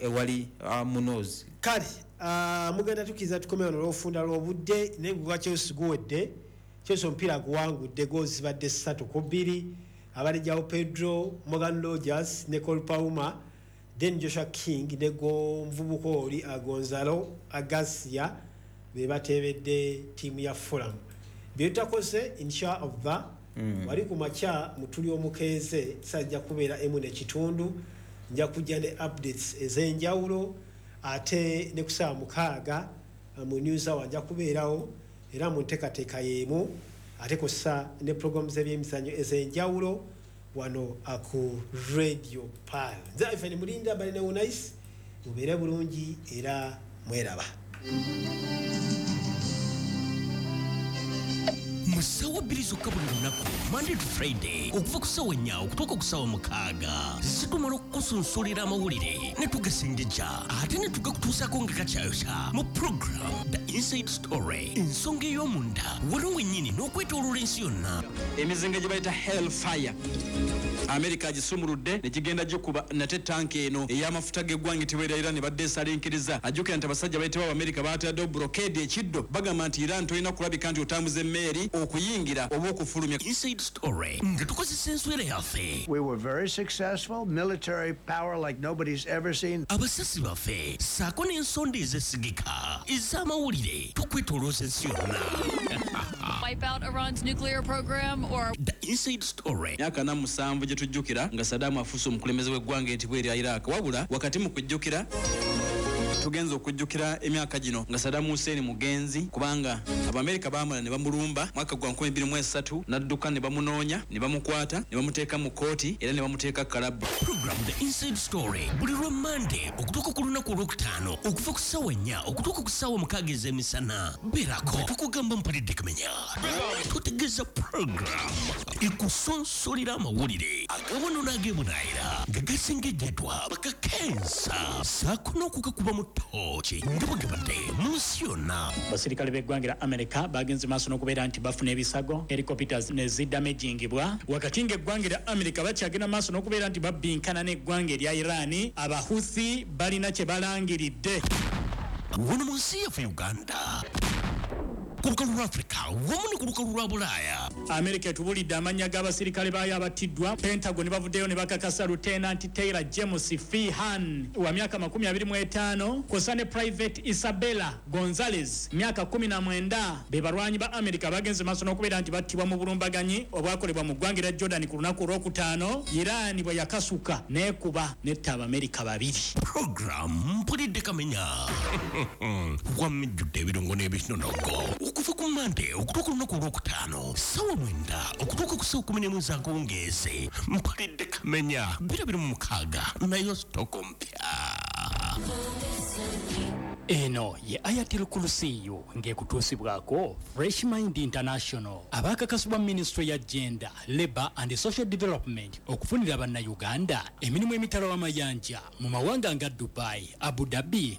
Ewali Munoz. Kale mugenda tukiriza tukome wano olwofunda lw'obudde, naye gwa Chelsea guwedde. Chelsea omupiira guwangudde, goals zibadde 3-2. Abadde Joao Pedro, Morgan Rogers ne Cole Palmer, then Joshua King ne gomuvubuka oli Gonzalo Garcia be bateebedde ttiimu ya Fulham. Byetutakoze, insha Allah, wali ku makya mutuli omukeeze sajja kubeera 1:15, nja kujja ne updates ez'enjawulo. Ate ne ku ssaawa 6 mu news hour nja kubeerawo era mu nteekateeka y'emu, ate kw'ossa ne programu z'ebyemizannyo ez'enjawulo wano ku Radio Pearl. Nze Ivan Mulinda, balina Unais, mubeere bulungi era mweraba. Mu ssaawa 2 zokka buli lunaku, Monday to Friday, okuva ku ssaawa 4 okutuuka ku ssaawa 6, zitumala okukusunsulira amawulire ne tugasengejja ate ne tugakutuusaako nga gakyayokya mu program The Inside Story, ensonga ey'omunda wano wennyini n'okwetooloola ensi yonna. Emizinga gye bayita Hellfire, Amerika agisumuludde ne gigenda gikuba nate tanka eno ey'amafuta g'eggwanga etibwa Iran badde esalinkiriza. Ajjukira nti abasajja bayitibwa Abamerika baataddewo blockade ekiddo, bagamba nti Iran tolina kulabika nti otambuza emmeeri okuyingira oba okufulumya. Inside Story nga tukozesa enswera yaffe. We were very successful, military power like nobody's ever seen. Abasasi baffe ssaako n'ensonda ezesigika ez'amawulire tukwetoolooza ensi yonna. Wipe out Iran's nuclear program or The Inside Story. Myaka 47 gye tujjukira nga Saddam afuuse omukulembeze w'eggwanga etibwa erya Iraq. Wabula wakati mu kujjukira, tugenza okujjukira emyaka gino nga Saddam Hussein mugenzi, kubanga Abamerika baamala ne bamulumba mwaka gwa 2003, n'adduka ne bamunoonya ne bamukwata ne bamuteeka mu kkooti era ne bamuteeka kalabba. Program The Inside Story buli lwa Monday okutuuka ku lunaku olwokutaano, okuva ku ssaawa 4 okutuuka ku ssaawa 6 ez'emisana. Beerako tukugamba mpulidde kamenya, tutegeeza program ekusonsolera amawulire agawano n'agebunaayira nga gasengejjeddwa bakakensa ssaako n'okugakuba mu ttooki nga bwe gabadde mu nsi yonna. Abasirikale b'eggwanga lya America bagenze maaso n'okubeera nti bafuna ebisago, helicopters ne zidamagingibwa, wakati ng'eggwanga lya America bakyagenda maaso n'okubeera nti babbinkana n'eggwanga erya Iran. Abahuthi balina kye balangiridde. Wano mu nsi yaffe Uganda, ku lukalu lwa Afrika wamu ne ku lukalu lwa Bulaaya. Amerika etubulidde amannya g'abasirikale baayo abattiddwa. Pentagon bavuddeyo ne bakakasa Lieutenant Taylor James Feehan wa myaka 25, kw'ossa ne Private Isabella Gonzalez myaka 19, be balwanyi ba Amerika bagenze maaso n'okubeera nti battibwa mu bulumbaganyi obwakolebwa mu ggwanga erya Jordan ku lunaku olwokutaano, Iran bwe yakasuka n'ekuba n'etta Abamerika 2. Program Mpulidde Kamenya wamijjudde ebirungo n'ebinonogo okuva ku Monday okutuuka olunaku olwokutaano ssaawa 9 okutuuka ku ssaawa 11 ez'akawungeezi. Mpulidde Kamenya 2026, nayo sitoko mpya. Eno ye Ayatul Kursiyu ng'ekutuusibwako Fresh Mind International, abaakakasibwa Ministry ya Gender, Labour and Social Development okufunira Bannayuganda emirimu emitala w'amayanja mu mawanga nga Dubai, Abu Dhabi.